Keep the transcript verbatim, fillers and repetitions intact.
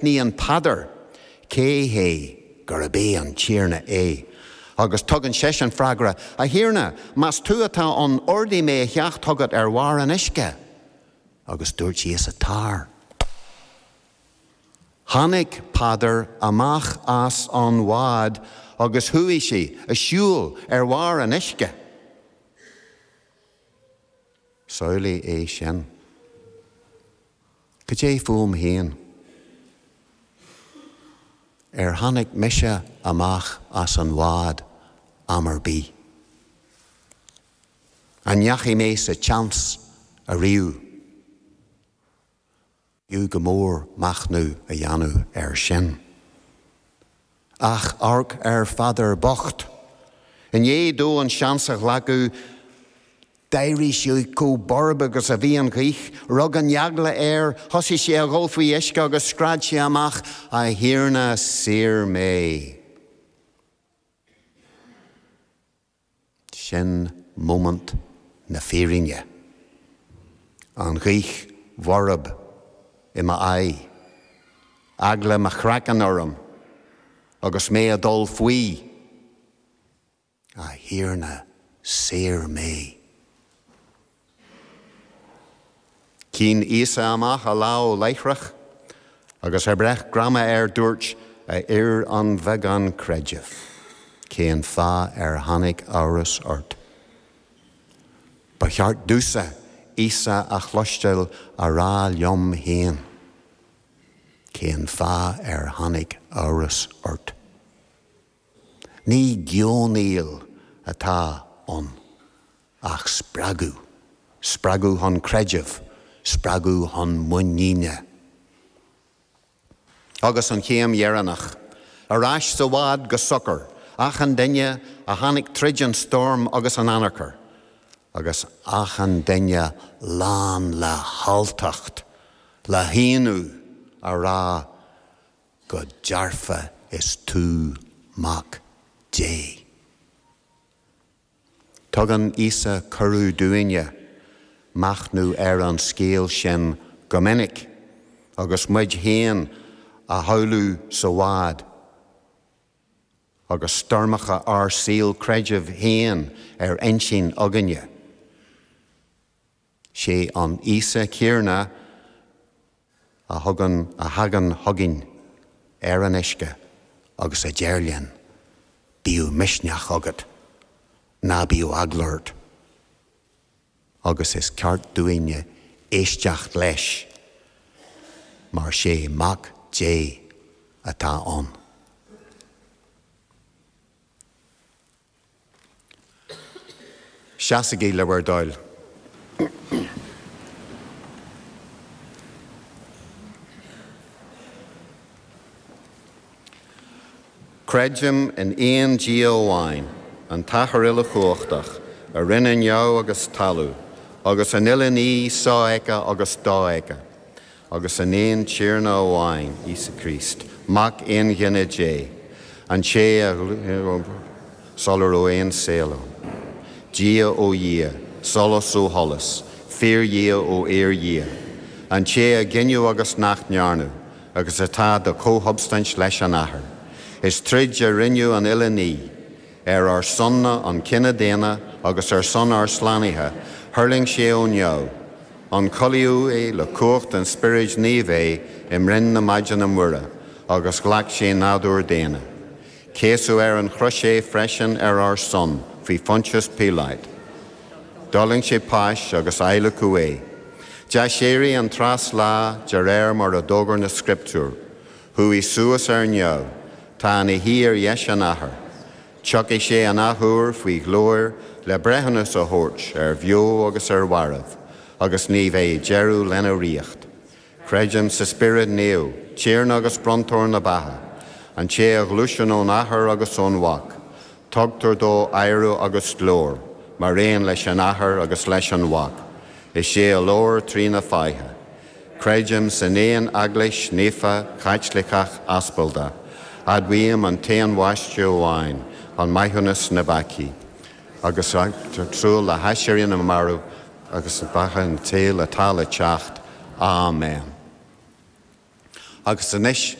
Aithníonn Peadar cé hé, gurb é an Tiarna é. Agus tugann seisean freagra, A Thiarna, más tú atá ann, ordaigh mé a theacht chugat ar bharr an uisce. Agus dúirt Íosa, Tar. Tháinig Peadar amach as an bhád agus chuaigh sé ag siúl ar bharr an uisce. Samhlaigh é sin. Cad é fúm féin? Ar tháinig mise amach as an bhád am ar bith? An ndeachaigh mé sa tseans ariamh? B'fhiú go mór machnamh a dhéanamh air sin. Ach amharc ar Pheadar bocht. I ndiaidh dó an seans a ghlacadh, d'éirigh sé chomh borb agus a bhí an ghaoth, rug an eagla air, thosaigh sé a dhul faoi uisce agus scread sé amach, A Thiarna, saor mé! Sin móimint na fírinne. An ghaoth bhorb i m'aghaidh, eagla mo chraicinn orm agus mé ag dul faoi. A Thiarna, saor mé. Shín Íosa amach a lámh láithreach agus ag breith greama air dúirt, A fhir an bheagáin creidimh, cén fáth ar tháinig amhras ort? Ba cheart domhsa Íosa a chloisteáil á rá liom féin, Cén fáth ar tháinig amhras ort? Ní geonaíl atá ann ach spreagadh, spreagadh chun creidimh, spreagadh chun muiníne. Agus an chéim dheireanach, ar ais sa bhád go socair, achan duine a tháinig tríd an stoirm agus an anacair, agus achan duine lán le halltacht, le hionadh, á rá, Go dearfa is tú Mac Dé. Tugann Íosa cuireadh dúinne machnamh ar an scéal sin go minic agus muid féin a shamhlú sa bhád agus stoirmeacha ár saol creidimh féin ar intinn againne. Sé an Íosa céanna a thugann, a thagann chugainn ar an uisce agus a deir linn, Bíodh misneach agat, ná bíodh eagla ort. Agus is ceart dúinne éisteacht leis, mar sé Mac Dé atá ann. Seasaigí le bhur dtoil. Creidim in aon Dia amháin, an tAthair uilechumhachtach, a rinne neamh agus talamh, agus an uile ní sofheicthe agus dofheicthe, agus in aon Tiarna amháin, Íosa Críost, Mac aonghinithe Dé, an té a sula raibh aon saol ann, Dia ó Dhia, solas ó sholas, fíor-Dhia ó fhíor-Dhia, an té a gineadh agus nach ndearnadh, agus atá de chomhshubstaint leis an Athair. Is tríd a rinneadh an uile ní. Ar ár son-na, an cine daonna, agus ar son ár slánaithe, thuirling sé ó neamh. Ionchollaíodh é le cumhacht an Spioraid Naoimh é i mbroinn na Maighdine Muire, agus ghlac sé nádúr daonna. Céasadh ar an chrois é freisin ar ár son, faoi Phontius Píoláit. D'fhulaing sé páis agus adhlacadh é. D'aiséirigh an treas lá de réir mar a d'fhógair na Scrioptúir. Chuaigh suas ar neamh. Tá ina shuí ar dheis an Athar. Tiocfaidh sé an athuair faoi ghlóir le breithiúnas a thabhairt ar bheo agus ar mhairbh, agus ní bheidh deireadh lena ríocht. Creidim sa Spiorad Naomh, Tiarna agus Bronntóir na beatha, an té a ghluaiseann ón Athair agus ón Mhac. Tugtar dó adhradh agus glóir, mar aon leis an Athair agus leis an Mhac. Is é a labhair trí na fáithe. Creidim san aon Eaglais naofa Chaitliceach Aspalda. Admhaím an t-aon bhaisteadh amháin chun maithiúnas na bpeacaí, agus ag súil le haiséirí na marbh agus beatha an tsaoil atá le teacht. Áiméan. agus anois